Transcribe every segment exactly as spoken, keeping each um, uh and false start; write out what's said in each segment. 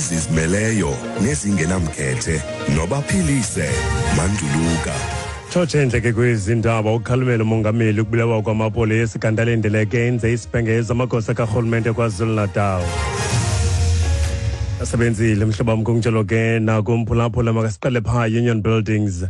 Ezizimeleyo nezingenamkhethe nobaphilise Manduluka. Tshotshe endleke kwezi ndaba: ukhalimela umongameli ukubulawa kwamapolisa, kanti alindeleke enze isibhengezo amagosa karhulumente KwaZulu-Natal. Asebenzile, mhlobo wam, kunjalo ke nakumphulaphula. Makasiqale phaa Union Buildings.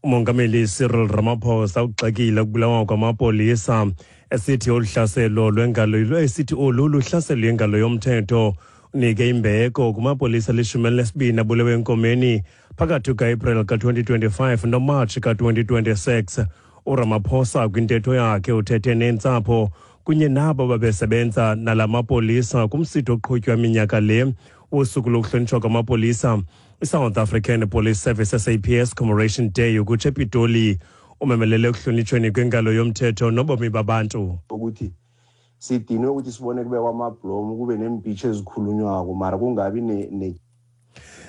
Umongameli Cyril Ramaphosa ugxekile ukubulawa kwamapolisa, esithi olu hlaselo lwengalo esithi olu luhlaselo lwengalo yomthetho. Unike imbeko kumapolisa alishumi elinesibini abulewe enkomeni phakathi kuka-April ka-twenty twenty-five noMatshi ka-twenty twenty-six. URamaphosa kwintetho yakhe uthethe neentsapho kunye nabo babesebenza nala mapolisa kumsitho oqhutywa minyaka le wosuku lokuhlonitshwa kwamapolisa, iSouth African Police Service, S A P S Commemoration Day, ukutsho ePitoli. Umemelele ekuhlonitshweni kwengalo yomthetho nobomi babantu. Ukuthi sidinwe ukuthi sibone kubekwa amabhlomu, kube neempitshi ezikhulunywako, mara kungabi ne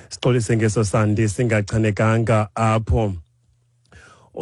Sixolise ngeso sandi singachanekanga apho.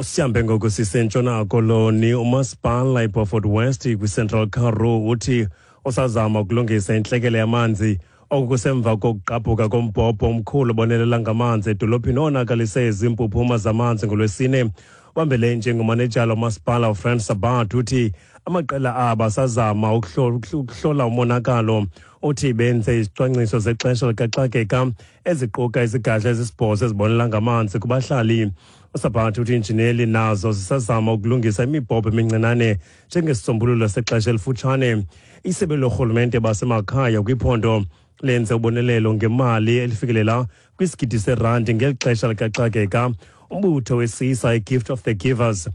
Sihambe ngoku siseNtshona Koloni. Umasipala iBeaufort West kwiCentral Karoo uthi usazama ukulungisa intlekele yamanzi. Oku kusemva kokugqabhuka kombhobho omkhulu obonelela ngamanzi edolophini owonakalise izimpuphuma zamanzi ngoLwesine. Ubambele njengomanejala umasipala uFrans Sabat uthi amaqela abo asazama ukuhlola umonakalo. Uthi benze izicwangciso zexesha likaxakeka eziquka izigadla ezisibhozo ezibonelela ngamanzi kubahlali. USabat uthi iinjineli nazo zisazama ukulungisa imibhobho emincinane njengesisombululo sexesha elifutshane. Isebe lorhulumente basemakhaya kwiphondo lenze ubonelelo ngemali elifikelela kwisigidi serandi ngeli xesha likaxakeka. Umbutho wesisa iGift of the Givers